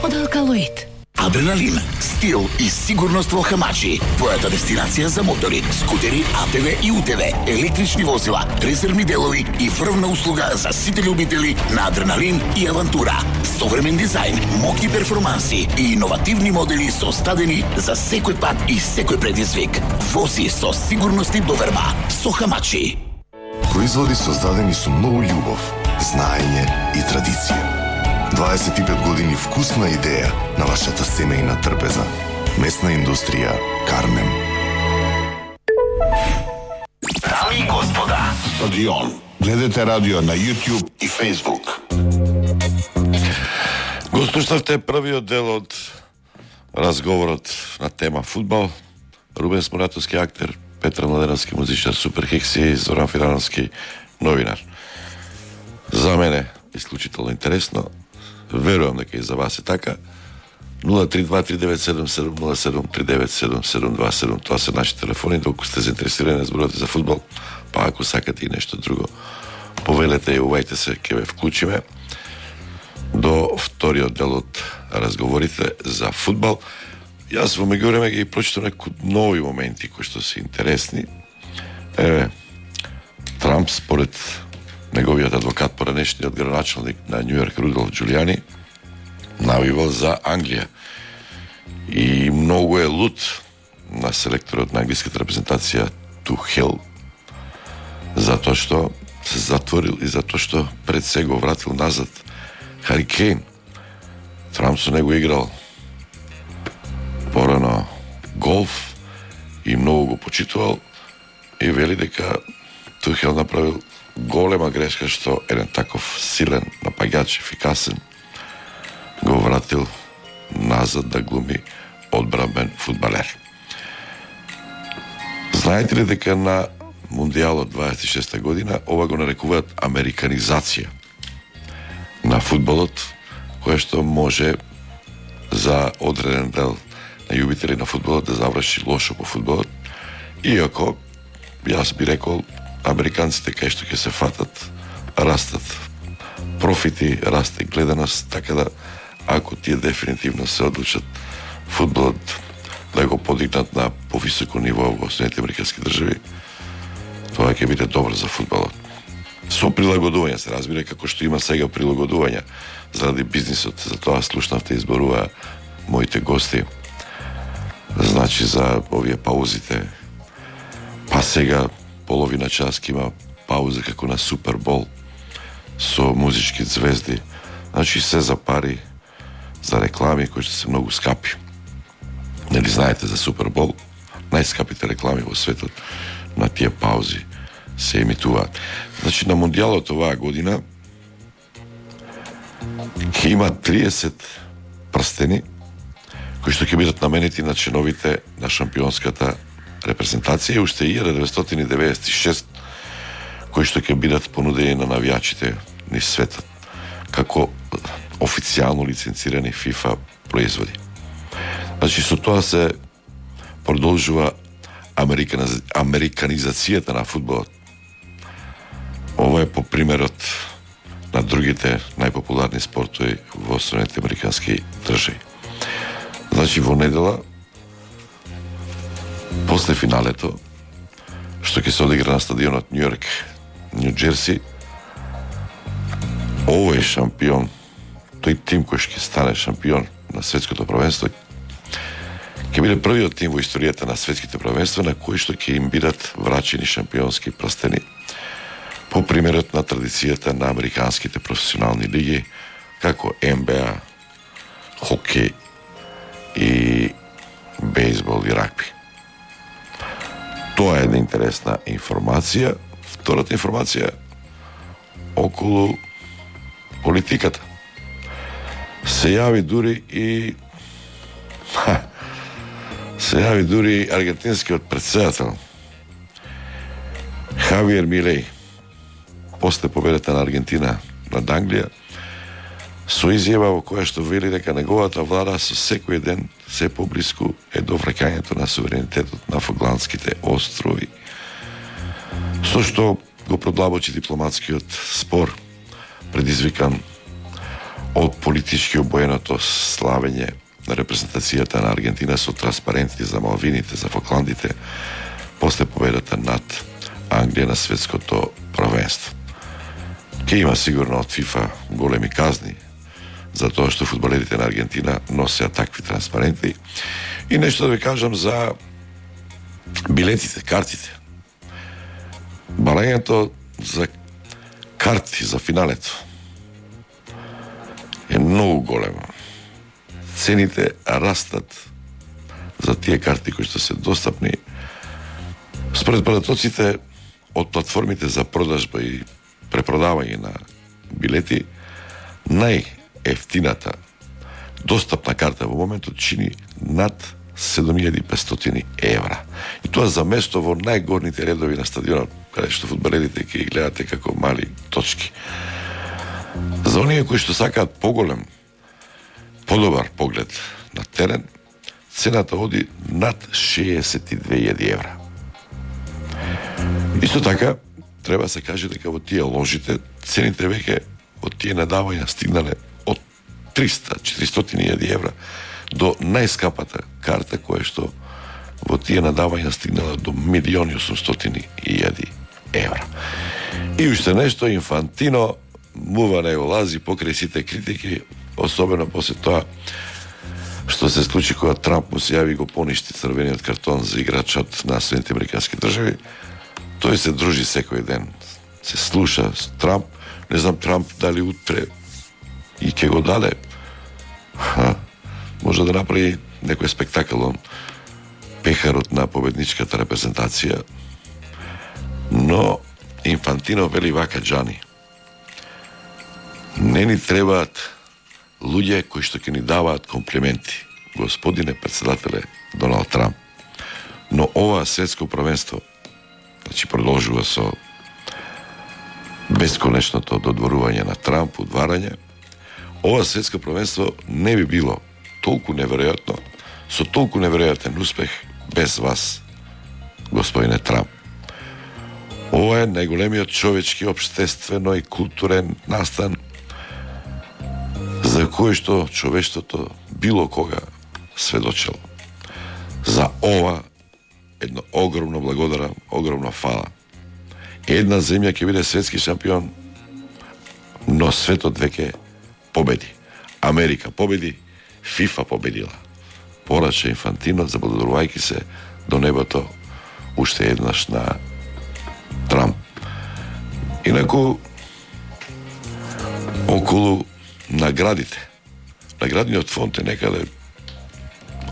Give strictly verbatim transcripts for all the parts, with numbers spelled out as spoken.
од Алкалоид. Адреналин, стил и сигурност во Хамачи. Твојата дестинација за мотори, скутери, А Т В и У Т В, електрични возила, резервни делови и врвна услуга за сите љубители на адреналин и авантура. Современ дизајн, моки перформанси и иновативни модели создадени за секој пат и секој предизвик. Вози со сигурност и доверба со Хамачи. Производи создадени со многу љубов, знаење и традиција. дваесет и пет години вкусна идеја на вашата семејна трпеза. Месна индустрија Кармем. Дами и господа, Стадион. Гледате радио на YouTube и Facebook. Го слушнавте првиот дел од разговорот на тема фудбал. Рубен Сморатовски, актер, Петар Младеновски, музичар, Супер Хекси, Зоран Фирановски, новинар. За мене исклучително интересно. Верувам дека и за вас е така. нула три два три девет седум седум нула седум три девет седум седум два седум. Тоа се наши телефони, доколку сте заинтересирани да зборувате за фудбал, па ако сакате и нешто друго, повелете и увајте се, ќе ве вклучиме до вториот дел од разговорите за фудбал. Јас во меѓувреме ги прочитам некои нови моменти кои што се интересни. Еве, Трамп според неговиот адвокат, поранешниот градоначалник на Њу Јорк Рудолф Џулијани, навивал за Англија. И многу е лут на селекторот на англиската репрезентација Тухел, затоа што се затворил и затоа што пред се го вратил назад Хари Кейн. Трамп со него играл порано голф и многу го почитувал и вели дека Тухел направил голема грешка што еден таков силен напаѓач, ефикасен, го вратил назад да глуми одбранбен фудбалер. Знаете ли дека на Мундијалот дваесет и шеста година ова го нарекуваат американизација на фудбалот, која што може за одреден дел на љубители на фудбалот да заврши лошо по фудбалот, иако јас би рекол американците кај што ќе се фатат, растат профити, расте гледаност, така да ако тие дефинитивно се одлучат фудбалот да го подигнат на повисоко ниво во Соединетите американски држави, тоа ќе биде добро за фудбалот. Со прилагодување се разбира, како што има сега прилагодувања заради бизнисот, за тоа слушнавте изборува моите гости. Значи за овие паузите, па сега половина час ќе има пауза како на Супербол со музички звезди. Значи се за пари, за реклами кои што се многу скапи. Нели знаете за Супербол? Најскапите реклами во светот на тие паузи се емитуваат. Значи на Мундијалот оваа година ќе има триесет прстени кои што ќе бидат наменети на членовите на шампионската репрезентација и уште илјада деветстотини деветдесет и шеста кои што ќе бидат понудени на навијачите низ светот како официјално лиценцирани FIFA производи. Значи со тоа се продолжува американиз... американизацијата на фудбалот. Ова е по примерот на другите најпопуларни спортови во Соединетите американски држави. Значи во недела после финалето што ќе се одигра на стадионот Њу Јорк, Њу Џерси, овој шампион, тој тим кој ќе стане шампион на светското првенство, ќе биде првиот тим во историјата на светските првенства на кои што ќе им бидат врачени шампионски прстени по примерот на традицијата на американските професионални лиги како Н Б А, хокеј и бейсбол и рагби. Тоа е една интересна информација. Втората информација околу политиката. Се јави дури и ха, се јави дури аргентинскиот претседател Хавиер Милеј после победата на Аргентина над Англија со изјава во која што вели дека неговата влада со секој ден се поблиску е до враќањето на суверенитетот на Фокландските острови, со што го продлабочи дипломатскиот спор предизвикан од политички обоеното славење на репрезентацијата на Аргентина со транспаренти за Малвините, за Фокландите, после победата над Англија на светското првенство. Ке има сигурно од ФИФА големи казни за тоа што фудбалерите на Аргентина носеа такви транспаренти. И нешто да ви кажам за билетите, картите. Барањето за карти за финалето е многу големо. Цените растат за тие карти кои што се достапни. Според податоците од платформите за продажба и препродавање на билети, најефтината достапна карта во моментот чини над седум илјади и петстотини евра. И тоа за место во најгорните редови на стадионот, каде што фудбалерите ќе ги гледате како мали точки. За оние кои што сакаат поголем, подобар поглед на терен, цената оди над шеесет и две илјади евра. Исто така, треба се каже дека во тие ложите цените веќе од тие надавања стигнале од триста до четиристотини илјади евра до најскапата карта која што во тие надавања стигнала до милиони и осумстотини илјади евра. И уште нешто, Инфантино мува не го лази покрај сите критики, особено после тоа што се случи кога Трамп му се јави го поништи црвениот картон за играчот на Соединетите американски држави. Тој се дружи секој ден, се слуша с Трамп. Не знам Трамп дали утре и ќе го даде. Ха, може да направи некој спектакл он пехарот на победничката репрезентација. Но Инфантино вели вака, Джани: не ни требаат луѓе кои што ќе ни даваат комплименти, господине председателе Доналд Трамп. Но ова светско првенство, значи продолжува со бесконечното додворување на Трамп, удварање, ова светско првенство не би било толку неверојатно, со толку неверојатен успех без вас, господине Трамп. Ова е најголемиот човечки, општествено и културен настан за кој што човештвото било кога сведочело. За ова едно огромно благодарам, огромно фала. Една земја ќе биде светски шампион, но светот веќе победи. Америка победи, ФИФА победила. Порача Инфантино, заблагодарувајќи се до небото уште еднаш на Трамп. Инаку, околу наградите, наградниот фонд е некаде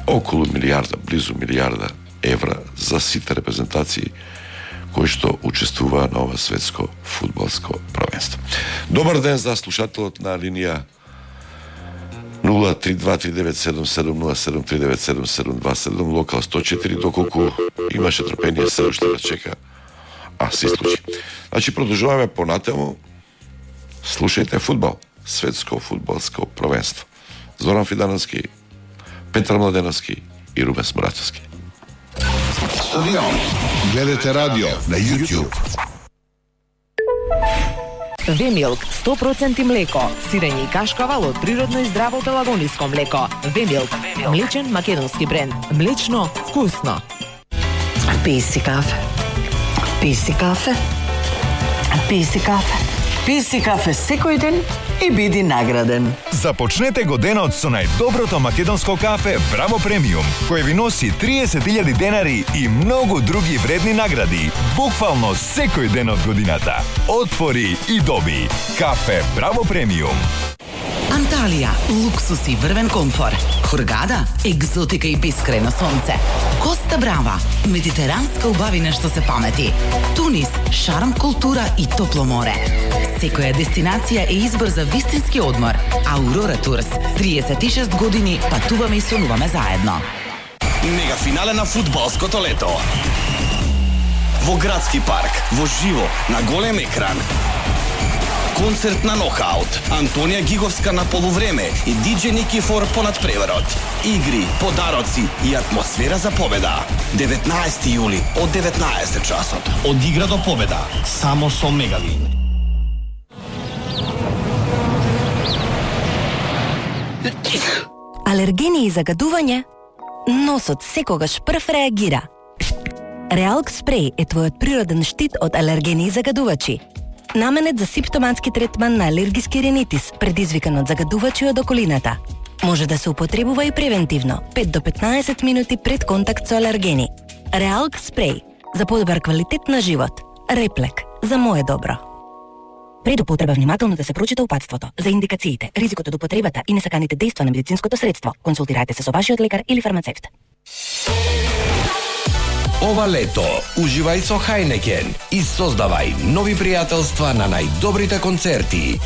околу милиарда, близу милиарда евра за сите репрезентации кои што учествуваа на ова светско фудбалско првенство. Добар ден за слушателот на линија нула три два три девет седум седум нула седум три девет седум седум два седум, локал сто четири, доколку имаше трпение се уште да чека, а се случи. Значи, продолжуваме понатаму. Слушајте фудбал, светско фудбалско првенство. Зоран Фидановски, Петар Младеновски и Рубен Смрачевски. Стадион. Гледате радио на YouTube. Вемилк сто проценти млеко, сирење и кашкавал од природно и здраво пелагониско млеко. Вемилк, млечен македонски бренд. Млечно, вкусно. Пи си кафе. Пи си кафе. Пи си кафе. Пи си кафе секој ден и биди награден. Започнете го денот со најдоброто македонско кафе Браво Премиум, кој ви носи триесет илјади денари и многу други вредни награди, буквално секој ден од годината. Отвори и доби. Кафе Браво Премиум. Анталија, луксус и врвен комфор. Хургада, екзотика и бискрено сонце. Коста Брава, медитеранска убавина што се памети. Тунис, шарм, култура и топло море. Секоја дестинација е избор за вистински одмор. Аурора Турс, триесет и шест години патуваме и сонуваме заедно. Мега финале на фудбалското лето. Во градски парк, во живо, на голем екран. Концерт на нокаут, Антонија Гиговска на полувреме и диџеј Никифор понад преверот. Игри, подароци и атмосфера за победа. деветнаесети јули од деветнаесет часот. Од игра до победа, само со Мегавин. Алергени и загадување? Носот секогаш прв реагира. Реалк спреј е твојот природен штит од алергени и загадувачи. Наменет за симптоматски третман на алергиски ринитис, предизвикан од загадувачи од околината. Може да се употребува и превентивно, пет до петнаесет минути пред контакт со алергени. Реалк спреј за подобар квалитет на живот. Реплек за мое добро. Пред употреба внимателно да се прочита упатството за индикациите, ризикот од употребата и несаканите дејства на медицинското средство. Консултирајте се со вашиот лекар или фармацевт. Ова лето уживај со Хајнекен и создавај нови пријателства на најдобрите концерти.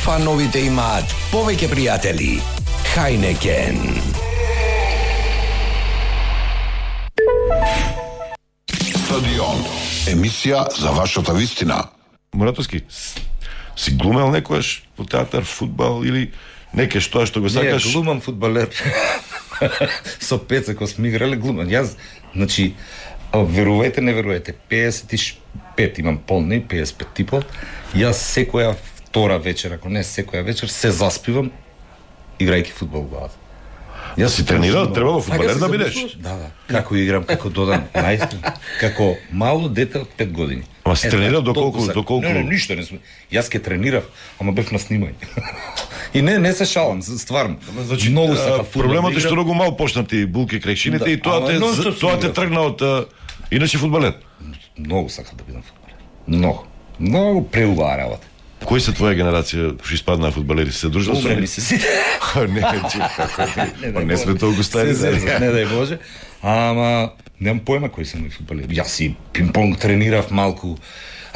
Фановите имаат повеќе пријатели. Хајнекен. Стадион. Емисија за вашата вистина. Муратовски, си глумел некојаш по театар, фудбал или неке што што го сакаш? Не, глумам фудбалер. Со Пеца кој сме играле глумам. Јас, значи, верувајте, не верувајте, пеесет и пет имам полни, пеесет и пет типов. Јас секоја втора вечер, ако не секоја вечер, се заспивам играјќи фудбал во главата. Јас си тренирал, требало фудбалер да бидеш. Да, да. Како играм, како додам, најстин, како мало дете од пет години. Ама си тренирал доколку, доколку? Не, не, ништо не сме. Јас ке тренирав, ама бев на снимање. И не, не се шалам, стварно. Значи, многу сака фудбал. Проблемот е што многу мал почнати булки крекшините и тоа те тоа те тргна од иначе фудбалер. Многу сака да бидам фудбалер. Многу. Многу преубава работа. Кои се твоја генерација што испаднаа фудбалери? Се дружал со нив? Се не, не, не сме толку стари. Не дај Боже. Ама немам појма кои се мои фудбалери. Јас си пинг-понг тренирав малку,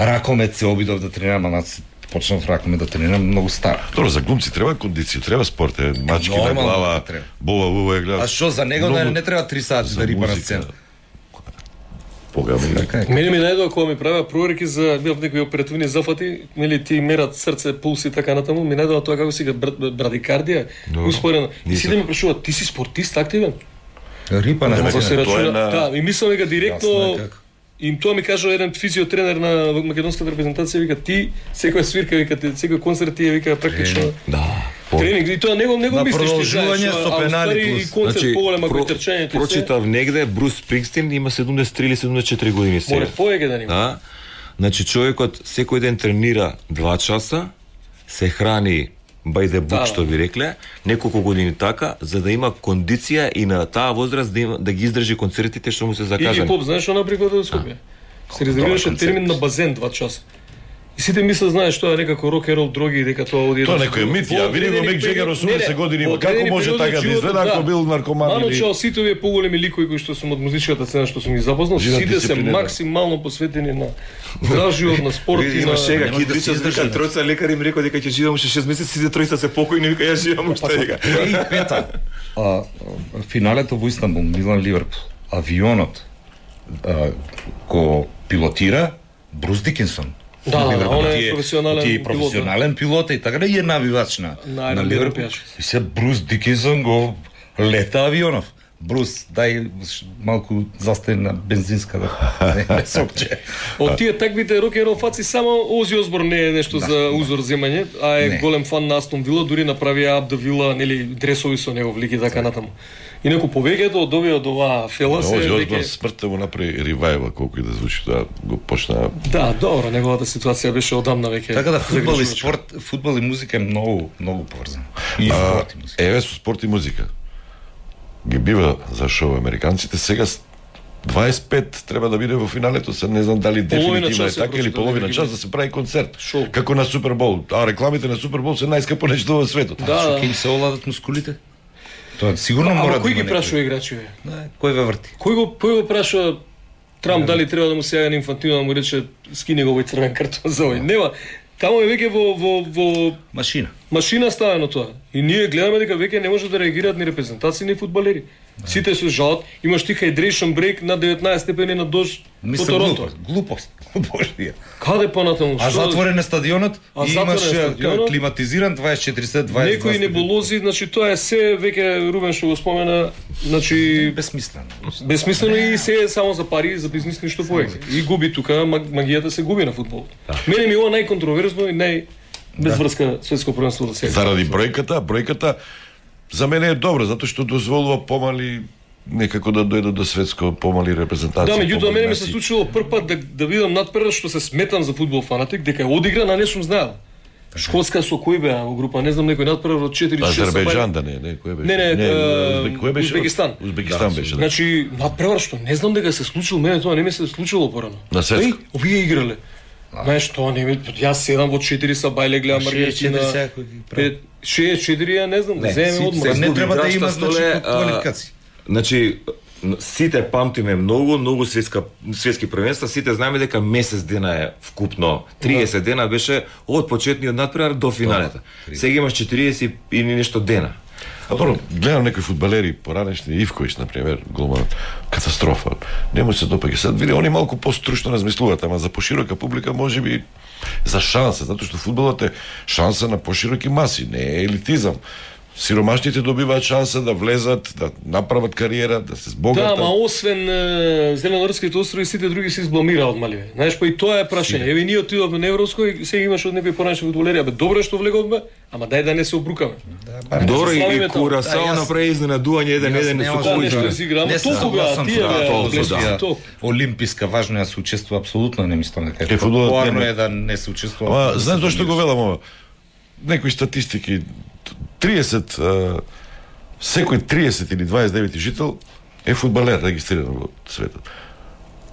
ракомет се обидов да тренирам, ама почнав ракомет да тренирам многу стар. Добро, за глумци треба кондиција, треба спорт, е, мачки на глава, бола уво е гледа. А што за него да не треба три сати да рипа на сцена? Мене ми најдоа кога ми правеа проверки за некои оперативни зафати, нели ти мерат срце, пулс и така натаму, ми најдоа тоа како си га брадикардија, успорено. И си да ме прашуваат, ти си спортист активен? Рипа на сцена. Да, и мислам дека директно им тоа ми кажа еден физиотренер на македонската репрезентација, вика ти секоја свирка, вика ти секој концерт ти е вика практично. Да. Тренинг, и тоа него него мислиш ти знаеш, со пенали плюс. Концерт поголема кој трчањето. Прочитав негде Брус Спрингстин има седумдесет три или седумдесет и четири години сега. Море поеќе да нема. Да. Значи човекот секој ден тренира два часа, се храни by the book, што ви рекле, неколку години така, за да има кондиција и на таа возраст да, има, да ги издржи концертите што му се закажани. И поп, знаеш што наприкод од Скопје? Се резервираше термин на базен два часа. И сите мислат, знаеш, тоа е некако рок-н-рол, дроги, дека тоа оди... Тоа некој мит, ја види го Мик Джегер осумдесет години, како може така да изгледа ако бил наркоман или... Маночал сите овие поголеми ликови кои што сум од музичката сцена што сум ги запознал, сите се максимално посветени на здрав живот, на спорт и на... Шега, ки прича дека тројца лекари им рекоа дека ќе живеам уште шест месеци, сите тројца се покојни, вика ја живеам уште дека. И пета. Финалето во Истанбул, Милан Ливерпул, авионот ко пилотира Брус Дикинсон. Да, да, он е професионален пилот. професионален пилот и така да е навивач на на Ливерпул. И се Брус Дикинсон го лета авионов. Брус, дај малку застај на бензинска да не сопче. Од тие таквите рок-н-рол фаци само Ози Осборн не е нешто за узор земање, а е голем фан на Астон Вила, дури направија Аб да Вила, нели дресови со него влики така натаму. Инаку повеќето од овие од оваа фела се Ози Осборн смртта му направи ревајва, колку и да звучи тоа го почна. Да, добро, неговата ситуација беше одамна веќе. Така да фудбал и спорт, фудбал и музика е многу многу поврзан. И спорт и музика. Еве со спорт и музика. Ги бива за шоу американците, сега дваесет и пет треба да биде во финалето, се не знам дали дефинитивно е така или половина час да се прави концерт, шоу. Како на Супербол. А рекламите на Супербол се најскапо нешто во светот. Да, што ќе им се оладат мускулите? Тоа сигурно мора да. Кој ги прашува играчите? Да, кој ве врти? Кој го кој го прашува Трамп дали треба да му се јави на Инфантино да му рече скини го овој црвен картон за овој? Нема. Таму е веќе во во во машина. Машина ставено тоа. И ние гледаме дека веќе не може да реагираат ни репрезентации ни фудбалери. Сите се жалат, имаш ти hydration break на деветнаесет степени на дожд во Торонто. Глупост. Божија. Каде понатаму? А затворен е стадионот и имаш климатизиран дваесет и четири сат дваесет. Некои небулози, значи тоа е се веќе Рубен што го спомена, значи бесмислено. Бесмислено и се е само за пари, за бизнис ништо повеќе. И губи тука, магијата се губи на фудбал. Мене ми ова најконтроверзно и нај без врска светско првенство да се. Заради бројката, бројката за мене е добро, затоа што дозволува помали некако да дојдат до светско помали репрезентации. Да, меѓутоа мене ми се случило прв пат да, да видам надпревар што се сметам за фудбал фанатик, дека е одигран, а не сум знаел. Шкотска со кој беа во група, не знам, некој надпревар од четири шест. Азербејџан да не, не, кој беше? Не, не, не uh, кој беше? Узбекистан. Узбекистан беше, да. Значи, надпревар што не знам дека се случило, мене тоа не ми се случило порано. На светско. Еј, овие играле. Знаеш, тоа не ми, јас седам во четири са бајле гледам Аргентина. шест четири ја не знам, да земе одмор. Не треба да има значи квалификации. Значи сите памтиме многу, многу светска светски првенства, сите знаеме дека месец дена е вкупно. триесет дена беше од почетниот надпревар до финалето. Сега имаш четириесет и нешто дена. А добро, гледам некои фудбалери поранешни, Ивковиќ например, голманот, катастрофа. Не му се допаѓа. Сад види, они малку постручно размислуваат, ама за поширока публика можеби за шанса, затоа што фудбалот е шанса на пошироки маси, не е елитизам. Сиромашните добиваат шанса да влезат, да направат кариера, да се збогатат. Да, ама освен е, Зеленорските острови, сите други се избламираат маливе. Знаеш, па и тоа е прашање. Еве ние отидовме на Европско и сега имаш од некои поранешни фудбалери, абе добро е што влеговме, ама дај да не се обрукаме. Да, добро и, и Курасао направи изненадување еден еден со кој игра. Ама толку тие олимписка важно е да се учествува апсолутно, не мислам дека е популарно е да не се учествува. Ама знаеш зошто го велам ова? Некои статистики триесет секој триесет или дваесет и девети жител е фудбалер регистриран во светот.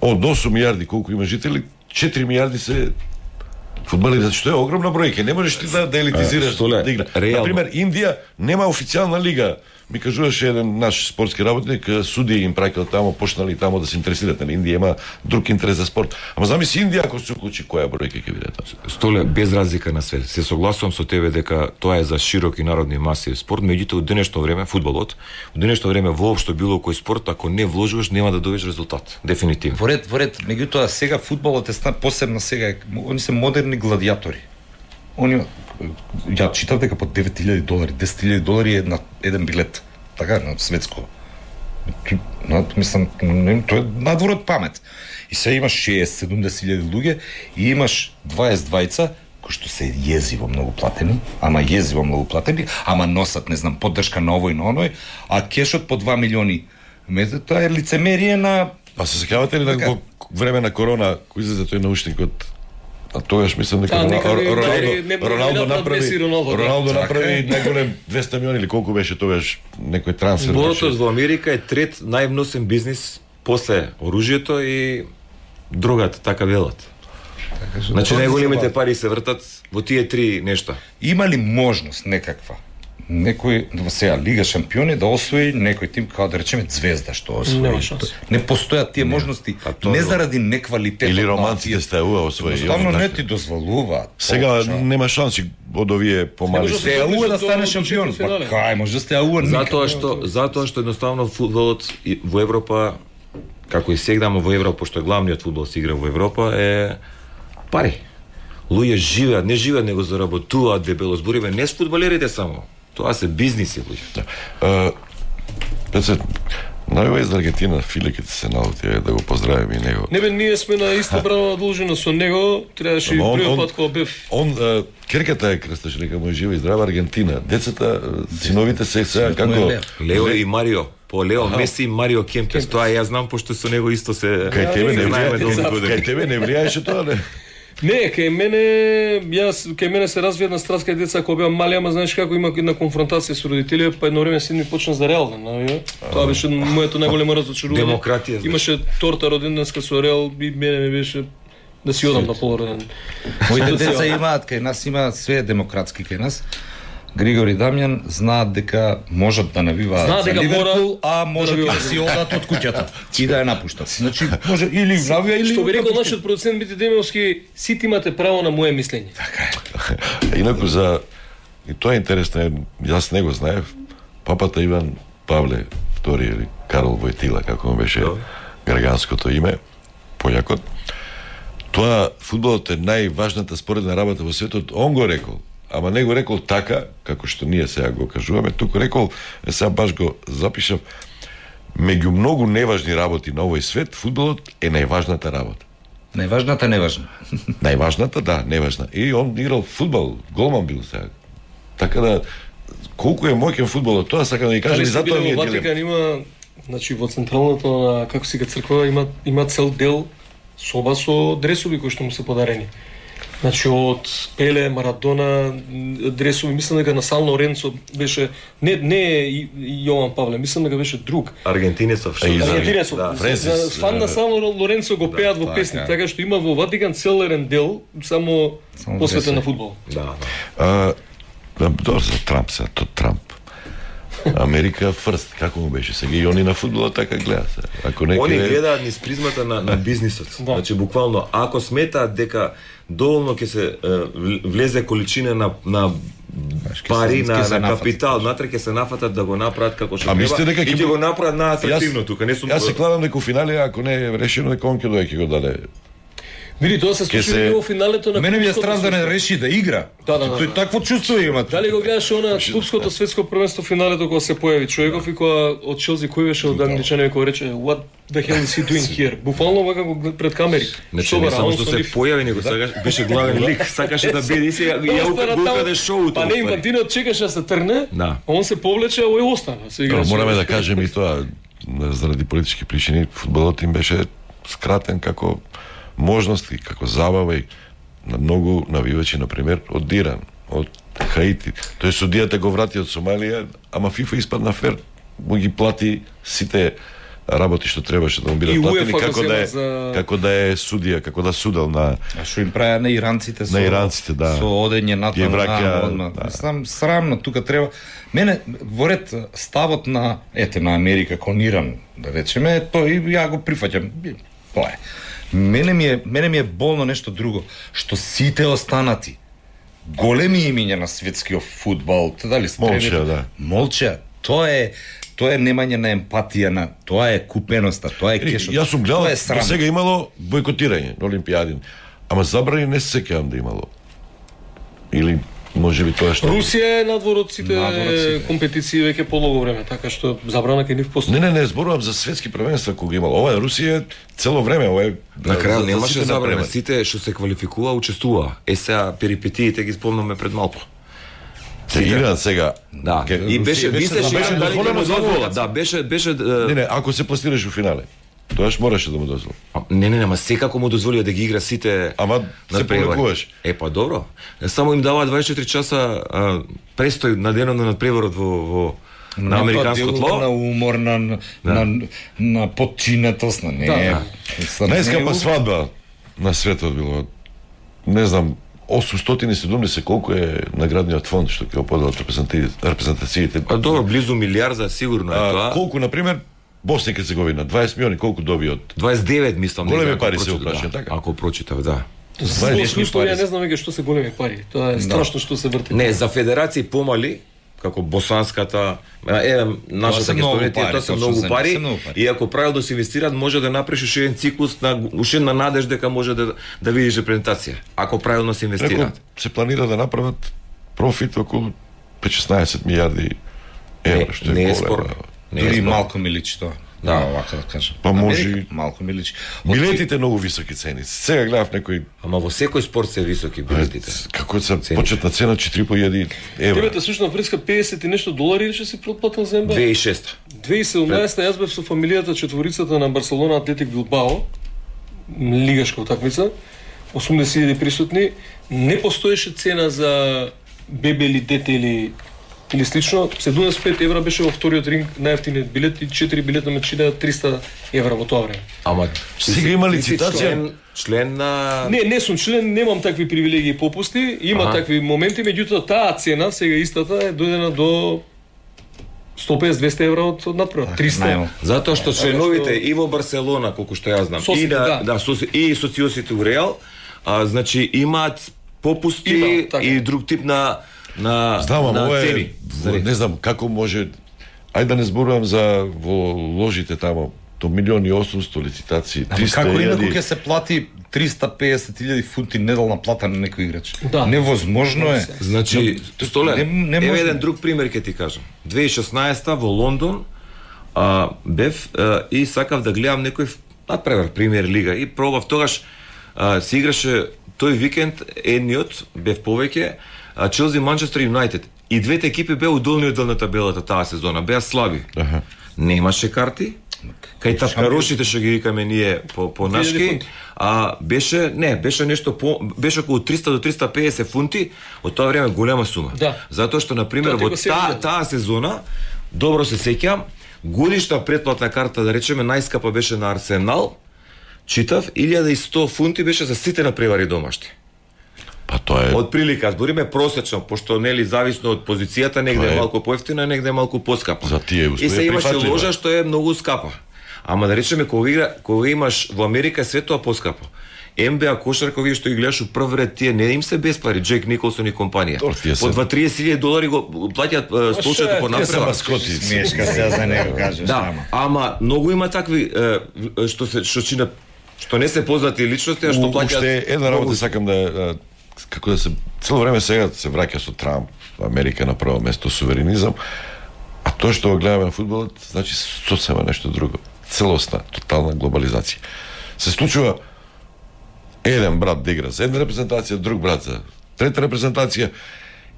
Од осум милиарди колку има жители, четири милиарди се фудбалери, затоа што е огромна бројка. Не можеш ти да, да елитизираш а, да игра. Например, Индија нема официјална лига. Ми кажуваше еден наш спортски работник, суди им праќал тамо, почнали тамо да се интересираат. Индија има друг интерес за спорт. Ама замисли Индија ако се уклучи, која бројка ќе биде тоа? Столе, без разлика на свет. Се согласувам со тебе дека тоа е за широки народни маси спорт, меѓутоа од денешно време фудбалот, од денешно време воопшто било кој спорт, ако не вложуваш, нема да добиеш резултат. Дефинитивно. Во ред, во ред, меѓутоа сега фудбалот е посебно сега, они се модерни гладиатори. Они ја читав дека по девет илјади долари, десет илјади долари е на еден билет. Така, на светско. Но, мислам, тоа е надвор од памет. И сега имаш шеесет седумдесет илјади луѓе и имаш дваесет двајца кои што се језиво многу платени, ама језиво многу платени, ама носат, не знам, поддршка на овој и на оној, а кешот по два милиони. Мете, тоа е лицемерие на... А се сеќавате ли на во време на корона, кој излезе тој научникот? А тогаш мислам дека Роналдо направи Роналдо направи најголем двеста милиони или колку беше тогаш некој трансфер. Спортот во Америка е трет највносен бизнис после оружјето и другата, така велат. Значи најголемите пари се вртат во тие три нешта. Има ли можност некаква некој во сега Лига шампиони да освои некој тим како да речеме Звезда што освои? Не, не постојат тие можности, не заради неквалитет или романците стаува освои. Ставно не ти дозволуваат. Сега нема шанси од овие помали. Стеауа да стане шампион. Па кај може Стеауа? Затоа што затоа што едноставно фудбалот во Европа, како и сега во Европа, пошто главниот фудбал се игра во Европа, е пари. Луѓе живеат, не живеат, него заработуваат дебело. Збориме не с фудбалерите само. Тоа се бизниси, луѓе. Пецет, најува из Аргентина, Филе, ке се наути, да го поздравим и него. Не бе, ние сме на иста бранова должина со него, требаше и првиот пат кога бев. Он, керката е крсташ, нека му е жива и здрава Аргентина. Децата, синовите се сега како... Лео и Марио. По Лео Меси и Марио Кемпес. Тоа ја знам, пошто со него исто се... Кај тебе не влијае, кај тебе не влијаеше тоа, не? Не, кај мене, јас, кај мене се развија една страст кај деца кога беа мали, ама знаеш како има една конфронтација со родители, па едно време син ми почна за Реал, нави. Тоа беше моето најголемо разочарување. Демократија. Имаше торта роденденска со Реал и мене ми беше да си одам на полуроден. Моите деца имаат, кај нас има све демократски кај нас. Григор и Дамјан знаат дека можат да навиваат за Ливерпул, а можат да си одат од куќата и да ја напуштат. Значи, може или навија или... Што би рекол нашиот продуцент Мити Демјовски, сите имате право на моје мислење. Така е. Инаку за... И тоа е интересно, јас не го знаев. Папата Иван Павле втори или Карол Војтила, како му беше граганското име, појакот. Тоа, фудбалот е најважната споредна работа во светот, он го рекол. Ама не го рекол така, како што ние сега го кажуваме, туку рекол, е сега баш го запишав, меѓу многу неважни работи на овој свет, фудбалот е најважната работа. Најважната неважна. Најважната, да, неважна. И он играл фудбал, голман бил сега. Така да, колку е моќен фудбалот, тоа сакам да ви кажам и затоа ми е во Ватикан има, значи во централната на како си га црква има има цел дел соба со дресови кои што му се подарени. Значи од Пеле, Марадона, дресови, мислам дека на Сан Лоренцо беше не не Јован Павле, мислам дека беше друг. Аргентинецов, што Аргентинецов. да, Френсис. Фан на Сан Лоренцо го пеат во песни, така што има во Ватикан целен дел само посветен на фудбал. Да, да. Добро за Трамп се, то Трамп. Америка фрст, како му беше сега и они на фудбалот така гледаат се. Ако некој Они гледаат низ призмата на на бизнисот. Да. Значи буквално ако сметаат дека доволно ќе се е, влезе количина на на пари на, на капитал, натре ќе се нафатат да го направат како што треба и ќе го направат на атрактивно тука, не сум. Јас се кладам дека финале ако не е решено дека он ќе дое ќе го даде. Види, тоа се случи се... во финалето на Мене ми е стран да не реши да игра. Да, да, да. Тој такво чувство има. Дали го гледаш она клубското светско првенство финалето кога се појави човеков и кога од Челси кој беше од англичаните кој рече what the hell is he doing here? Буквално вака го пред камери. Значи не само што се појави, него сакаш беше главен лик, сакаше да биде си ја укаде шоуто. Па не Инфантино чекаше да се трне, да. Он се повлече, а ој остана. Се играше. Мораме да кажеме и тоа заради политички причини фудбалот им беше скратен како можности, како забава и на многу навивачи, например, од Диран, од Хаити. Тој судијата го врати од Сомалија, ама ФИФА испадна фер, му ги плати сите работи што требаше да му бидат платени, како да е за... како да е судија, како да судел на А што им правеа на иранците со на иранците, да. Со одење на тоа, враќа, да. Сам срамно тука треба. Мене во ред ставот на ете на Америка кон Иран, да речеме, тој ја го прифаќам. Тоа е. Мене ми е, мене ми е болно нешто друго, што сите останати големи имиња на светскиот фудбал, дали молча, да. Молча, тоа е тоа е немање на емпатија, на тоа е купеноста, тоа е кешот. Јас сум гледал, до сега имало бойкотирање на Олимпијади, ама забрани не се сеќавам да имало. Или можеби тоа што Русија е надвор од сите компетиции веќе полого време, така што забрана ке нив постои. Не, не, не, зборувам за светски првенства кога имало. Ова е Русија цело време, ова е на крај немаше забрана, сите што се квалификува учествува. Е сега перипетиите ги спомнаме пред малку. Се Иран сега. Да. И беше беше дозволено дозвола. Да, беше беше Не, не, ако се пласираш во финале. Тоаш мораше да му дозволи. Не, не, не, ама секако му дозволија да ги игра сите. Ама се повлекуваш. Е, па добро. Само им дава дваесет и четири часа а, престој на денот на надпреворот во во на американско тло, на умор, на на, да. на, на подчинетост, на не. Да, да. Најскапа свадба на светот било. Не знам, осумстотини и седумдесет колку е наградниот фонд што ќе го поделат репрезентациите. А добро, близу милиарда сигурно е тоа. Колку на пример Босна и Херцеговина, дваесет милиони, колку доби од дваесет и девет мислам. Големи пари се опрашаат, така. Ако прочитав, да. За историја не знам веќе што се големи пари. Тоа е страшно што се врти. Не, за федерации помали, како босанската, е нашата гестонетија, тоа се многу пари. И ако правилно се инвестираат, може да направиш уште еден циклус на уште на надеж дека може да да видиш репрезентација. Ако правилно се инвестираат. Се планира да направат профит околу петнаесет милиарди евра, што е не е спорно. Дури малку ми личи тоа. Да, овака да кажам. Па може малку ми личи. Билетите многу високи цени. Сега гледав некој. Ама во секој спорт се високи билетите. Како се почетна цена четири и по илјади евра. Тебе слушна преска педесет и нешто долари или што си предплатил за Н Б А? две илјади и шеста. две илјади и седумнаесета јас бев со фамилијата четворицата на Барселона Атлетик Билбао, лигашка утакмица, осумдесет илјади присутни, не постоеше цена за бебе или дете или или слично, седумдесет и пет евра беше во вториот ринг, најевтиниот билет и четири билета ме чинеа триста евра во тоа време. Ама сега има лицитација? Член, член на Не, не сум член, немам такви привилегии и попусти, има ага. такви моменти, меѓутоа таа цена сега истата е дојдена до сто и песет до двесте евра од надпревар, триста. Затоа што членовите и во Барселона, колку што јас знам, Соси, и на да, да соси, и социосите у Реал, а, значи имаат попусти има, така. И друг тип на на знам, на ова цени. Е, не знам како може. Ајде да не зборувам за во ложите тамо до милиони и осумсто лицитации, триста како илјади. инаку ќе се плати триста и песет илјади фунти неделна плата на некој играч? Да. Невозможно е. Значи, Столе, не, не еве може... еден друг пример ќе ти кажам. две илјади и шеснаесета во Лондон а, бев а, и сакав да гледам некој надпревар премиер лига и пробав тогаш а, се играше тој викенд едниот бев повеќе Челси Манчестер Юнајтед И двете екипи беа у долниот дел на табелата таа сезона, беа слаби. Аха. Немаше карти. Кај тапкарошите што ги викаме ние по по нашки, а беше не, беше нешто по беше околу триста до триста и песет фунти, од тоа време голема сума. Да. Затоа што на пример во таа таа сезона добро се сеќам, годишна претплатна карта, да речеме најскапа беше на Арсенал, читав илјада и сто фунти беше за сите надпревари домашни. Па тоа е од прилика, збориме просечно, пошто нели зависно од позицијата, негде е малку поевтина, негде малку поскапа. За тие и се имаше ложа што е многу скапа. Ама да речеме кога игра, кога имаш во Америка све тоа поскапо. Н Б А кошарка вие што ги гледаш у прв ред, тие не им се без пари, Джек Николсон и компанија. По два триесет илјади долари го плаќаат столчето по напрема. Смешка се за него кажеш, да, ама многу има такви што се што чина што не се познати личности, а што плаќаат. Уште една работа сакам да како да се цело време сега се враќа со Трамп, Америка на прво место, суверенизам, а тоа што го гледаме на фудбалот, значи сосема нешто друго. Целосна, тотална глобализација. Се случува еден брат да игра за една репрезентација, друг брат за трета репрезентација,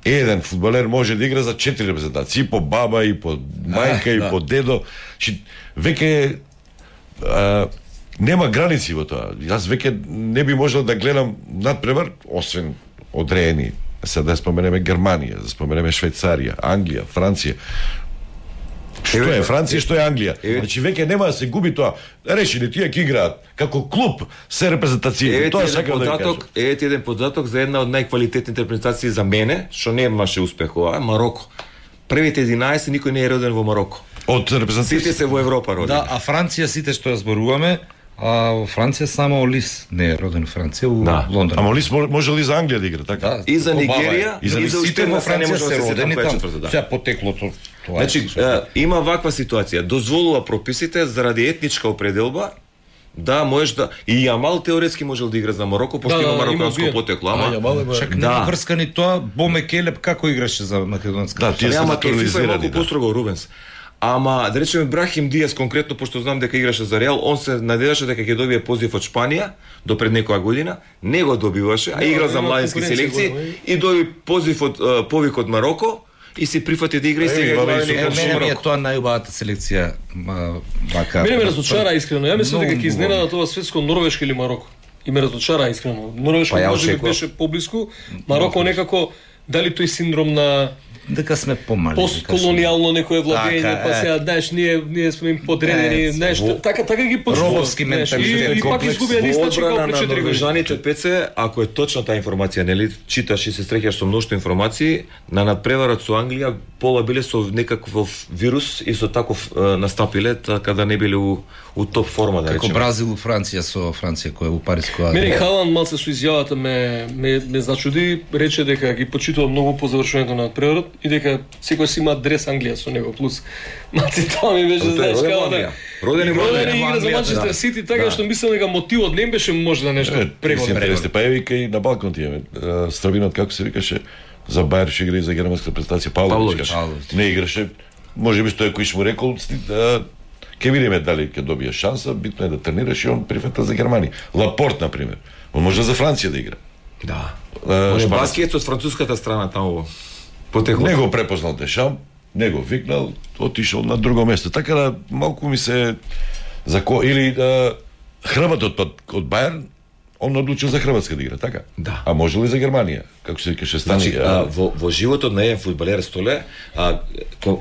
еден фудбалер може да игра за четири репрезентации, и по баба, и по мајка, а, и да. по дедо. Чи, веќе а, нема граници во тоа. Јас веќе не би можел да гледам надпревар, освен одреени. Сега да споменеме Германија, да споменеме Швајцарија, Англија, Франција. Што е Франција, што е Англија? Значи веќе нема да се губи тоа. Решили тие ќе играат како клуб се репрезентацији. Тоа сакам да кажам. Ете еден податок за една од најквалитетните репрезентации за мене, што немаше успех ова, Мароко. Првите единаесет никој не е роден во Мароко. Од репрезентациите сите се во Европа родени. Да, а Франција сите што ја зборуваме, а во Франција само Олис не е роден во Франција, у да. Лондон. Ама Олис може ли за Англија да игра, така? Да, и за Нигерија, и за, и за сите во Франција се родени там. Сега потеклото. Значи, е, има ваква ситуација. Дозволува прописите заради етничка определба да можеш да и Јамал теоретски можел да игра за Мароко, пошто да, има мароканско има потекло, ама а, чак да. Не врскани тоа, Боме Келеп како играше за македонска. Да, тие се натурализирани, да. Построго Рубенс. Ама да речеме Брахим Диас конкретно, пошто знам дека играше за Реал, он се надеваше дека ќе добие позив од Шпанија до пред некоја година, не го добиваше, а игра за младински селекции и доби позив од повик од Мароко и се прифати да игра и сега игра. Мене ми е тоа најубавата селекција, вака. Мене ме разочара искрено. Ја мислам дека ќе изненада тоа светско Норвешка или Мароко. И ме разочара искрено. Норвешка може би беше поблиску, Мароко некако дали тој синдром на дека сме помали. Постколонијално некое владење, па сега знаеш ние ние сме им подредени, нешто. Така така ги почнува. Робовски менталитет, и пак изгубија ниста че како пред четири години. Пеце, ако е точна таа информација, нели читаш и се среќаш со мноштво информации, на надпреварот со Англија пола биле со некаков вирус и со таков настапиле, така да не биле у, у топ форма, да речеме. Како Бразил у Франција со Франција која у Париско. Мене Халанд малце со изјавата ме ме, ме зачуди, рече дека ги почитува многу по завршувањето на надпреварот и дека секој си има дрес Англија со него плюс. Маци тоа ми беше знаеш како да. Родени во игра за Манчестер Сити, така што мислам дека мотивот не беше можда нешто прегодно. Па евика и на балкон тие. Стравинот како се викаше за Бајер ше игра и за германска представација Павлович. Не играше. Можеби што е кој му рекол ќе видиме дали ќе добие шанса, битно е да тренираш и он прифата за Германија. Лапорт на пример. Он може за Франција да игра. Да. Може баскет од француската страна таму. Потекло. Не го препознал Дешам, не го викнал, отишол на друго место. Така да малку ми се за ко или да, Хрватот од, од Бајерн, он одлучил за Хрватска да игра, така? Да. А може ли за Германија? Како се викаше стани? Значи, а, во, во животот на еден фудбалер Столе, а,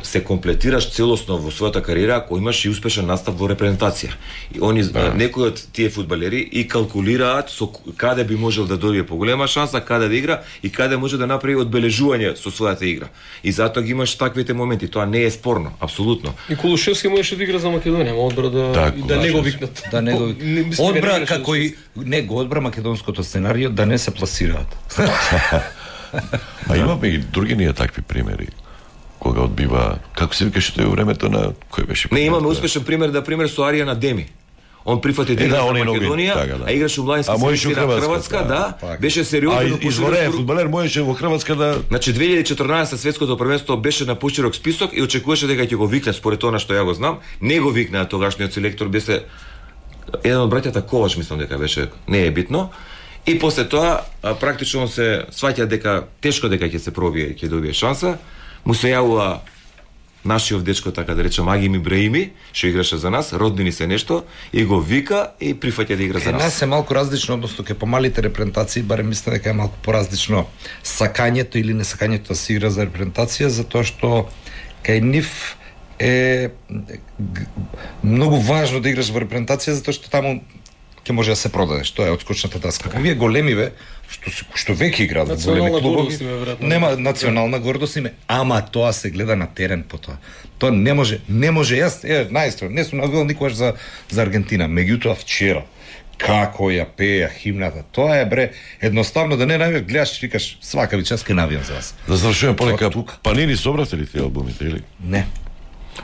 се комплетираш целосно во својата кариера ако имаш и успешен настап во репрезентација. И они да. Некои од тие фудбалери и калкулираат со каде би можел да добие поголема шанса, каде да игра и каде може да направи одбележување со својата игра. И затоа ги имаш таквите моменти, тоа не е спорно, апсолутно. И Кулушевски можеше да игра за Македонија, ма одбра да да, и да не го викнат. Да не го одбра како и не го одбра македонското сценарио да не се пласираат. А имаме и други ние такви примери. Кога одбива, како се викаше тој времето на кој беше? Не, имаме успешен пример, да пример со Аријана Деми. Он прифати да игра за Македонија, така, да. А играше у младински селекција на Хрватска, да, да, беше сериозно. А изворен фудбалер можеше во Хрватска да. Значи две илјади и четрнаесетта светското првенство беше на поширок список и очекуваше дека ќе го викне според тоа што ја го знам. Не го викна тогашниот селектор, беше еден од браќата Ковач, мислам дека беше, не е битно. И после тоа практично се сваќа дека тешко дека ќе се пробие, ќе добие шанса. му се јавува нашиот дечко, така да речем, Агим Ибраими, што играше за нас, роднини се нешто, и го вика и прифаќа да игра за нас. Кај нас е малку различно, односно кај помалите репрезентации, барем мислам дека е малку поразлично сакањето или несакањето да се игра за репрезентација, затоа што кај нив е многу важно да играш во репрезентација, затоа што таму ќе може да се продадеш, тоа е одскочната таска. Вие големиве што се што веќе играат во големи клубови, нема национална гордост име, ама тоа се гледа на терен потоа. Тоа не може, не може јас е најстро, не сум навил никогаш за за Аргентина, меѓутоа вчера како ја пеја химната, тоа е бре, едноставно да не навиеш, гледаш, викаш свака ви час ке навијам за вас. Да завршуваме полека, Панини собравте ли тие албумите или? Не.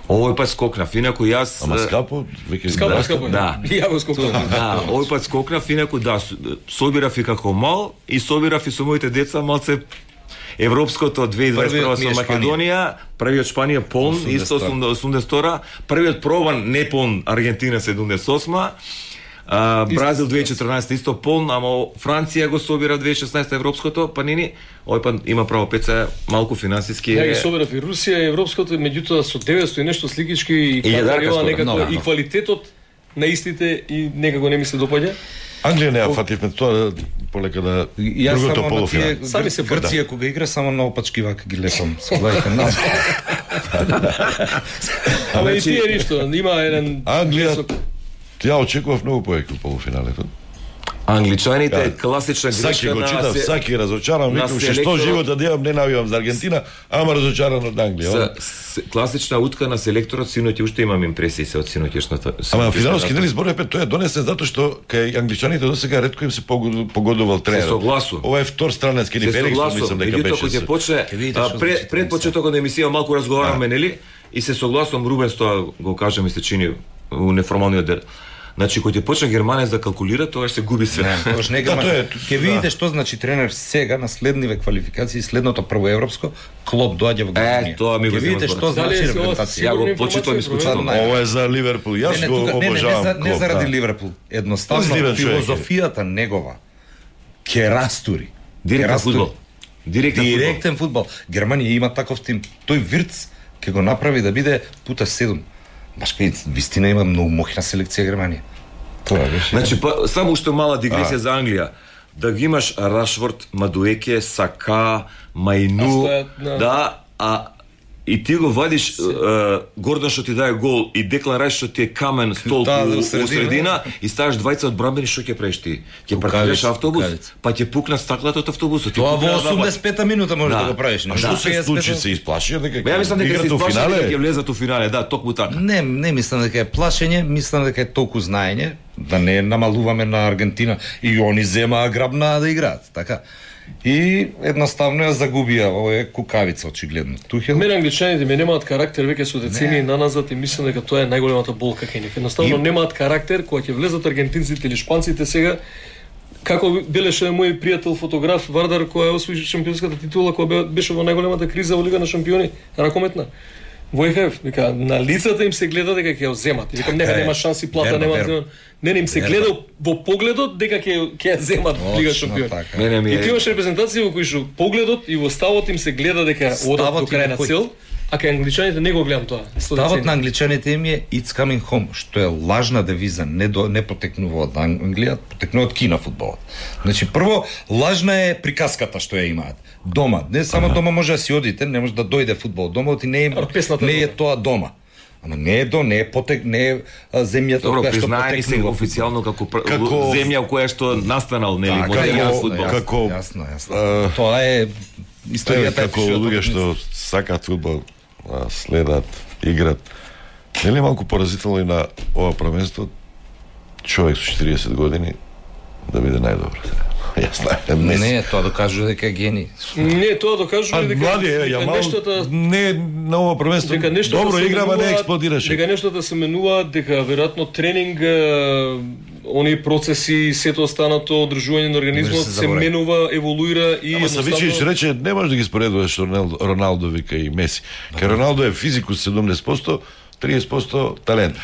Овој пат скокнав, инаку јас... Ама скапо? Веќе скапо, да, скапо, да. И ја го скокнав. Да, овој пат скокнав, инаку да, собирав и како мал, и собирав и со моите деца малце европското две илјади дваесет и прва со Македонија, првиот Шпанија полн, исто осумдесет и втора, првиот пробан не полн Аргентина седумдесет и осма, Uh, Бразил две илјади и четрнаесета исто полн, ама Франција го собира две илјади и шеснаесета европското, па нини, овој пат има право пеца малку финансиски. Ја ги собирав и Русија, европското, меѓутоа со деветсто и нешто сликички и кадрила некако и квалитетот на истите и некако не ми се допаѓа. Англија не ја фативме тоа полека да другото полуфинал. Сами се Грција кога игра само на опачки вака ги лепам. Соглајте на. Ама и тие ништо, има еден Англија ја очекував многу повеќе полуфиналето. Англичаните е класична грешка Саки го на читав, Саки разочаран, викам што живота да имам, не навивам за Аргентина, ама разочаран од Англија. Класична утка на селекторот, синоќ уште имам импресии се од синоќешната. Ама финалски дели зборев тоа е донесен затоа што кај англичаните досега ретко им се погодувал тренер. Се согласу. Ова е втор страненски ни Фериксон, мислам дека беше. Кога ќе почне пред пред почетокот на емисија малку разговараме, нели? И се согласувам, Рубенс тоа го кажа, ми се чини у неформалниот дел. Значи, кога ќе почне германец да калкулира, тоа ќе се губи све. Не, тоа не германец. Ќе видите што значи тренер сега на следниве квалификации, следното прво европско, Клоп доаѓа во Германија. Е, тоа ми го ќе видите што значи репрезентација. Ја го почитувам исклучително. Ова е за Ливерпул. Јас го обожавам. Не заради Ливерпул, едноставно филозофијата негова ќе растури. Директен фудбал. Директен фудбал. Германија има таков тим. Тој Вирц ќе го направи да биде пута седум. Баш кај вистина има многу моќна селекција Германија. Тоа беше. Значи па, само уште мала дигресија за Англија. Да ги имаш Рашфорд, Мадуеке, Сака, Мајну, да, а и ти го вадиш Гордон што ти дае гол и Деклан Рајс што ти е камен стол у средина и ставаш двајца од брамбени, што ќе правиш ти? Ќе паркираш автобус, па ќе пукнат стаклата од автобусот. Тоа во осумдесет и пета минута може да го правиш. А што се случи, се исплашија дека ја мислам дека се исплашија дека ќе влезат у финале, да, токму така. Не, не мислам дека е плашење, мислам дека е толку знаење, да не намалуваме на Аргентина и они земаа грабна да играат, така. И едноставно ја загубија, ова е кукавица очигледно. Тухел. Мене англичаните ми немаат карактер веќе со децени наназад и мислам дека тоа е најголемата болка кај нив. Едноставно и... немаат карактер кога ќе влезат аргентинците или шпанците сега. Како белеше мој пријател фотограф Вардар која освои шампионската титула кога беше во најголемата криза во Лига на шампиони, ракометна. Војхев, вика, на лицата им се гледа дека ќе ја земат. Викам, нека нема шанси, плата нема земат. Не, не им се гледа во погледот дека ќе ќе ја земат Лига шампиони. И ти имаш репрезентација во кој што погледот и во ставот им се гледа дека одат до крај на цел, а кај англичаните не го гледам тоа. Ставот на англичаните им е It's coming home, што е лажна девиза, не до не потекнува од Англија, потекнува од Кина фудбалот. Значи прво лажна е приказката што ја имаат. Дома, не само дома може да си одите, не може да дојде фудбал дома, и не е не е тоа дома. Ама не е до, не е потек, не е земјата која што потекнува. Се официјално како, како земја која што настанал, нели, модерниот фудбал. Како јасно, јасно. Тоа е историјата како луѓе што сакаат фудбал, следат, играт. Нели малку поразително и на ова првенство човек со четириесет години да биде најдобар. Јасно е. Не, тоа докажува дека е гени. Не, тоа докажува дека млади е, ја нештата не на ова првенство. Добро играва, не експлодираше. Дека нештата се менуваат, дека веројатно тренинг, они процеси, сето останато одржување на организмот се менува, еволуира и ама Савичевиќ рече не можеш да ги споредуваш Роналдо, вика и Меси. Кај Роналдо е физикус седумдесет проценти, триесет проценти талент.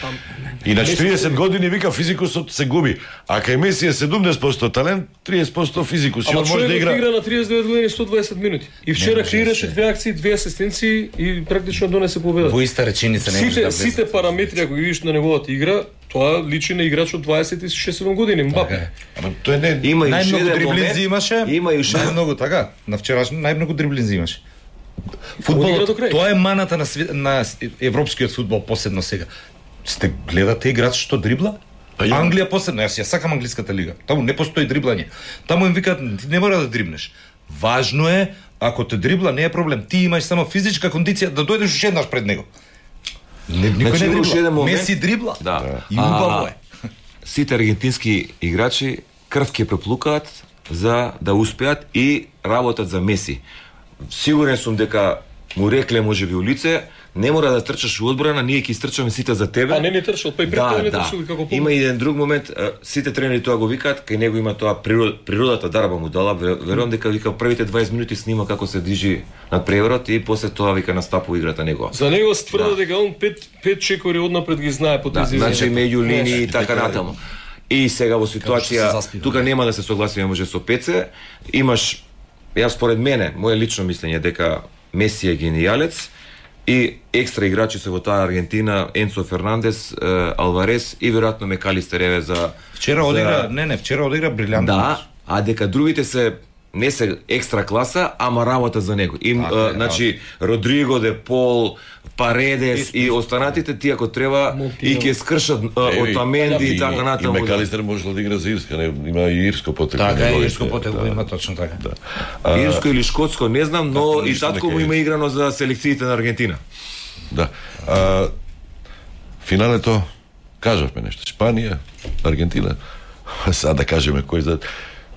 И на четириесет години вика физикусот се губи. А кај Меси е седумдесет проценти талент, триесет проценти физикус. Ама може да игра. игра на триесет и девет години сто дваесет минути. И вчера креираше две акции, две асистенции и практично донесе победа. Во иста реченица не може да влезе. Сите параметри ако ги видиш на неговата игра, тоа личи на играч од дваесет и шест години, Мбапе. Ама тој не има и најмногу дриблинзи имаше. Има и најмногу така. На вчерашно најмногу дриблинзи имаше. Фудбалот, тоа е маната на свет, на европскиот фудбал посебно сега. Сте гледате играч што дрибла? Англија посебно, јас ја сакам англиската лига. Таму не постои дриблање. Таму им викаат ти не мора да дрибнеш. Важно е ако те дрибла не е проблем. Ти имаш само физичка кондиција да дојдеш уште еднаш пред него. Не, никој значи, не дрибла. Момент... Меси дрибла. Да. И убаво е. Сите аргентински играчи крв ќе преплукаат за да успеат и работат за Меси. Сигурен сум дека му рекле можеби у лице, не мора да трчаш во одбрана, ние ќе истрчаме сите за тебе. А не не трчал, па и пред тоа не трчал како помни. Има и еден друг момент, сите тренери тоа го викаат, кај него има тоа природ, природата дарба му дала, верувам дека вика првите дваесет минути снима како се движи над преворот и после тоа вика настапува играта него. За него се тврди дека он пет пет чекори однапред ги знае по тези. Да, значи меѓу линии и така натаму. И сега во ситуација тука нема да се согласиме може со Пеце, имаш јас според мене, моје лично мислење дека Меси е генијалец и екстра играчи се во таа Аргентина, Енцо Фернандес, Алварес и веројатно Мекалистер еве за вчера одигра, за... не не, вчера одигра брилјантно. Да, а дека другите се не се екстра класа, ама работа за него. И а, значи Родриго, Де Пол, Паредес и, и останатите тие ако треба Монтино. И ќе скршат од Таменди и така натаму. И Мекалистер може да игра за Ирска, не, има и ирско потекло. Така е, ирско потекло има точно така. Да. А, ирско или шкотско, не знам, но и татко му има играно за селекциите на Аргентина. Да. А, финалето кажавме нешто. Шпанија, Аргентина. Сега да кажеме кој за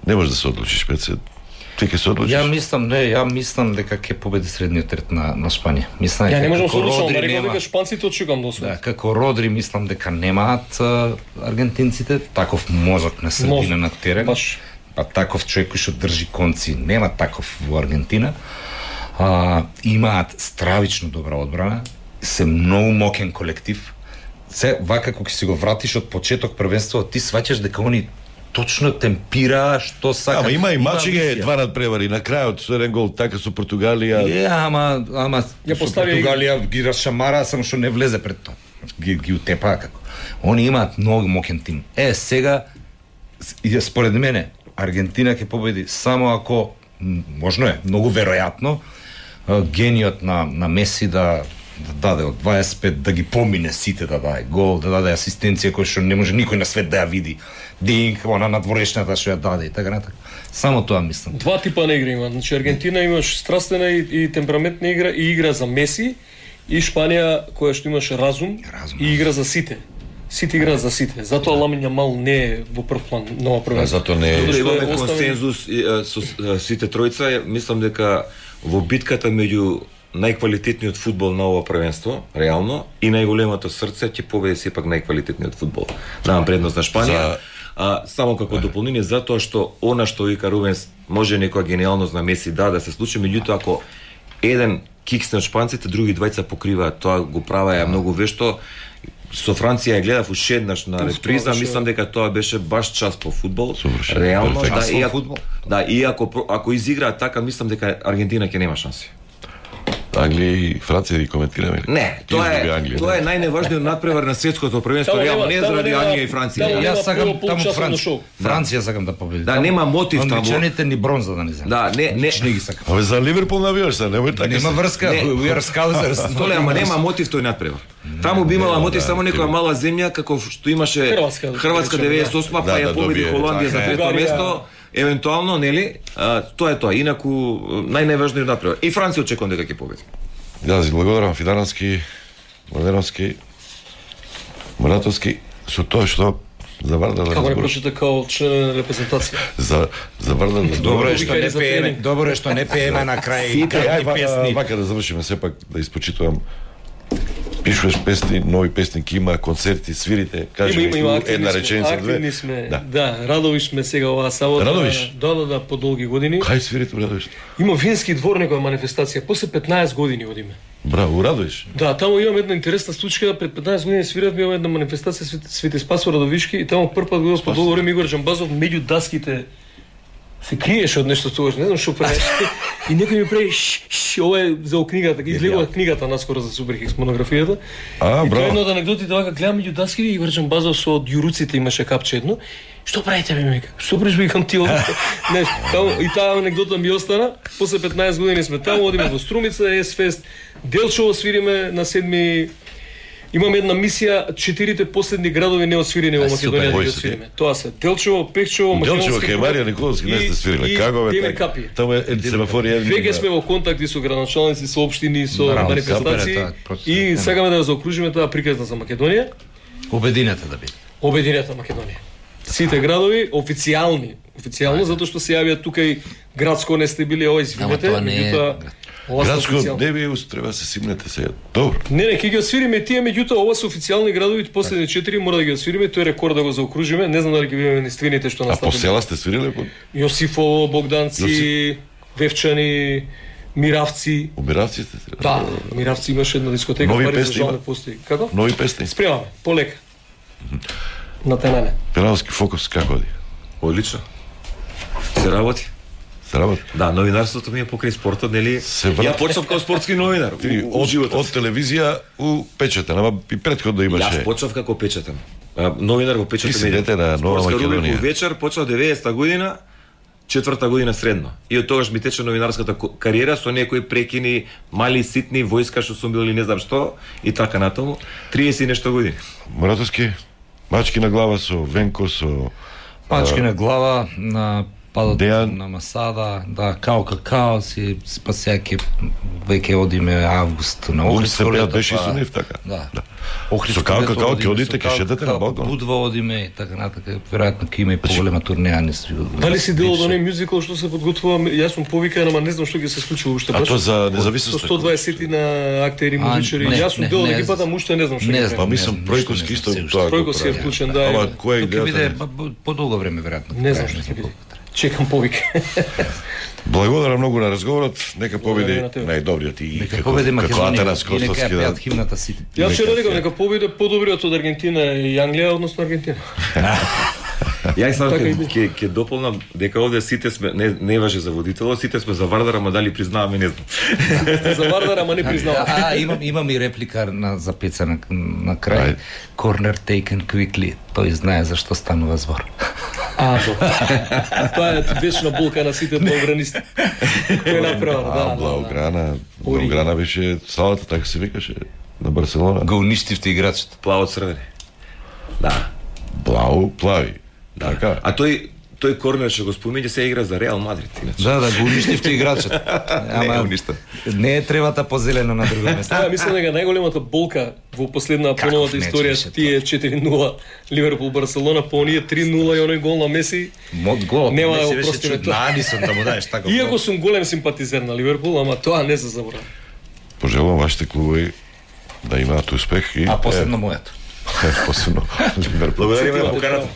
не може да се одлучиш пред се. Ти ќе се одлучиш? Ја мислам, не, ја мислам дека ќе победи средниот ред на на Шпанија. Мислам дека ја не можам да се одлучам, ама рекол дека шпанците очекувам да освојат. Да, како Родри мислам дека немаат а, аргентинците таков мозок на средина на терен. Баш. А таков човек кој што држи конци, нема таков во Аргентина. А, имаат стравично добра одбрана, се многу мокен колектив. Се вака кога си го вратиш од почеток првенството, ти сваќаш дека они точно темпира што сака. Ама има и мачиге два надпревари на крајот со еден гол така со Португалија. Е, ама ама ја постави Португалија ги расшамара, само што не влезе пред тоа. Ги ги утепа како. Они имаат многу мокен тим. Е, сега според мене Аргентина ќе победи само ако можно е, многу веројатно гениот на на Меси да да даде од дваесет и пет, да ги помине сите, да даде гол, да даде асистенција која што не може никој на свет да ја види. Динг, она надворешната што ја даде и така натака. Само тоа мислам. Два типа на игра има. Значи Аргентина имаш страстена и, и темпераментна игра и игра за Меси и Шпанија која што имаш разум, разум и игра за сите. Сите играат за сите. Затоа Ламин Јамал не е во прв план нова првенство. Затоа не е. Имаме консензус со сите тројца, мислам дека во битката меѓу најквалитетниот фудбал на ова првенство, реално, и најголемото срце ќе победи сепак најквалитетниот фудбал. Давам предност на Шпанија. За... А, само како дополнение затоа што она што вика Рубенс може некоја гениалност на Меси да да се случи, меѓутоа ако еден киксне од шпанците, други двајца покриваат, тоа го правеа многу вешто. Со Франција ја гледав уште еднаш на реприза, мислам дека тоа беше баш час по фудбал. Реално, да, и ако, да, и ако ако изиграат така, мислам дека Аргентина ќе нема шанси. Англија и Франција ги коментираме. Не, тоа е Англија, тоа е најневажниот надпревар на светското првенство, реално не заради Англија и Франција. Јас сакам таму Франција. Франција сакам да победи. Да, нема мотив таму. Англичаните ни бронза да не земат. Да, не, не, не ги сакам. Абе за Ливерпул навиваш се, немој така. Нема врска, we are Scousers. Толе, ама нема мотив тој надпревар. Таму би имала мотив само некоја мала земја како што имаше Хрватска деветдесет и осма, па ја победи Холандија за трето место. Евентуално, нели? А, тоа е тоа. Инаку најнајважниот надпревар. И Франција очекувам дека ќе победи. Да, ви благодарам Фидановски, Младеновски, Муратовски, со тоа што за Вардар да разборуваш. Како не прочита као член на репрезентација. За за Вардар да Добро е што не пееме, добро е што не пееме на крај и песни. Вака да завршиме сепак да испочитувам. Пишуваш песни, нови песни, има концерти, свирите, кажи ми една реченица, две. Активни сме, да. Да, радови сме сега оваа сабота. Радовиш? Да, да, да, по долги години. Кај свирите, радовиш? Има вински двор некоја манифестација, после петнаесет години одиме. Браво, Радоиш. Да, таму имам една интересна случка, пред петнаесет години свиравме една манифестација Свети, Свети Спас Радовишки и таму прв пат го по долго време Игор Джамбазов меѓу даските се криеше од нешто тогаш, не знам што правеше. И некој ми прави ш, ш, ова е за книгата, излегува книгата наскоро за Суперхикс монографијата. А, и браво. тоа е една од анегдотите, вака гледам меѓу даските Игор Джамбазов со од јуруците имаше капче едно. Што правите бе, мека? Што правиш бе кам ти овде? Не, таму и таа анегдота ми остана. После петнаесет години сме таму, одиме во Струмица, Ес-фест, Делчево свириме на седми. Имаме една мисија, четирите последни градови не освирени во Македонија да ги освириме. Тоа се Делчево, Пехчево, Македонски. Делчево кај Марија Николовски не сте свириле. Како бе така? Таму е семафори едни. Веќе сме во контакти со градоначалници, со општини, со манифестации и сакаме да заокружиме таа приказна за Македонија. Обединета да биде. Обединета Македонија. Сите градови официјални, официјално затоа што се јавија тука и градско не сте били, ова извинете, меѓутоа градско не би устреба да се симнете се. Добро. Не, не, ќе ги освириме тие, меѓутоа ова се официјални градови, последни четири мора да ги освириме, тој рекорд да го заокружиме. Не знам дали ќе бидеме ниствините што настапи. А по села сте свириле по Јосифово, Богданци, Јосиф... Вевчани, Миравци. У Миравци сте свириле? Да, Миравци имаше една дискотека, нови пари песни за постои. Како? Нови песни. Спремаме, полека. На темене. Пеналски фокус како оди? Одлично. Се работи. Се работи? Да, новинарството ми е покрај спортот, нели? Ја почнав како спортски новинар. Ти, од, од телевизија у печатен, ама и претходно имаше. Јас почнав како печатен. Новинар во печатен. Ти си дете на Нова Македонија. Вечер почнав деветдесета година, четврта година средно. И од тогаш ми тече новинарската кариера со некои прекини, мали ситни, војска што сум бил или не знам што и така натаму. триесет и нешто години. Моратовски, мачки на глава со Венко, со Пачки на глава, на падот Дејан. На Масада, да, као какао си спасејаки веќе одиме август на Охридско лето. Охридско беше со нив така. Да. Да. Охридско со као какао ќе одите, ќе шетате на балкон. Будва одиме и така натака, веројатно ќе има и поголема турнеја, не си. Дали си дел од оној мюзикл што се подготвува? Јас сум повикан, ама не знам што ќе се случи уште. А тоа за независност. Со сто дваесет на актери, музичари. Јас сум дел од екипата, му уште не знам што ќе прави. Па мислам Пројковски исто тоа. Пројковски е вклучен, да. Ама кој ќе биде подолго време веројатно. Не знам што ќе биде. Чекам повик. Благодарам многу на разговорот. Нека победи најдобриот и нека победи Македонија. Нас Костовски да. Химната си. Јас ќе рекам нека победи подобриот од Аргентина и Англија, односно Аргентина. Јас само ќе ќе дополнам дека овде сите сме не не важи за водителот, сите сме за Вардар, ама дали признаваме не знам. Сте за Вардар, ама не признаваме. А, имам имам и реплика на за пеца на, на крај. Corner taken quickly. Тој знае зашто станува збор. А, тоа е вечна болка на сите блаугранисти. Кој направа, да. Блауграна, Блауграна беше салата, така се викаше на Барселона. Го уништивте играчот. Плаво црвени. Да. Блау, плави. Да. Така. А тој тој корнер што го спомине се игра за Реал Мадрид, иначе. Да, да, го уништивте играчот. Ама не уништа. Не е тревата позелена на друго место. Ја мислам дека најголемата болка во последна поновата историја тие четири нула Ливерпул Барселона, по оние три нула и оној гол на Меси. Мод гол. Нема да го простиме тоа. Надисам да му даеш така. Иако сум голем симпатизер на Ливерпул, ама тоа не се заборави. Пожелувам вашите клубови да имаат успех и а посебно мојот. Посебно Ливерпул. Благодариме на поканата.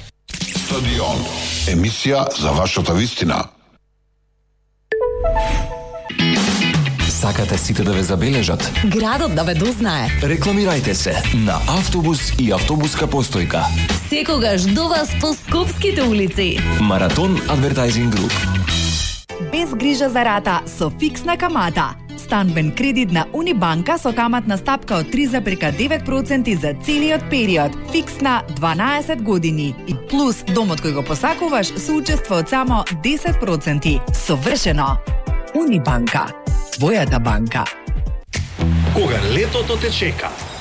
Стадион. Емисија за вашата вистина. Сакате сите да ве забележат? Градот да ве дознае. Рекламирајте се на автобус и автобуска постојка. Секогаш до вас по скопските улици. Маратон Advertising Group. Без грижа за рата со фиксна камата. Станбен кредит на Унибанка со каматна стапка од три запирка девет проценти за целиот период. Фиксна дванаесет години. И плюс домот кој го посакуваш со учество од само десет проценти. Совршено. Унибанка. Твојата банка. Кога летото те чека,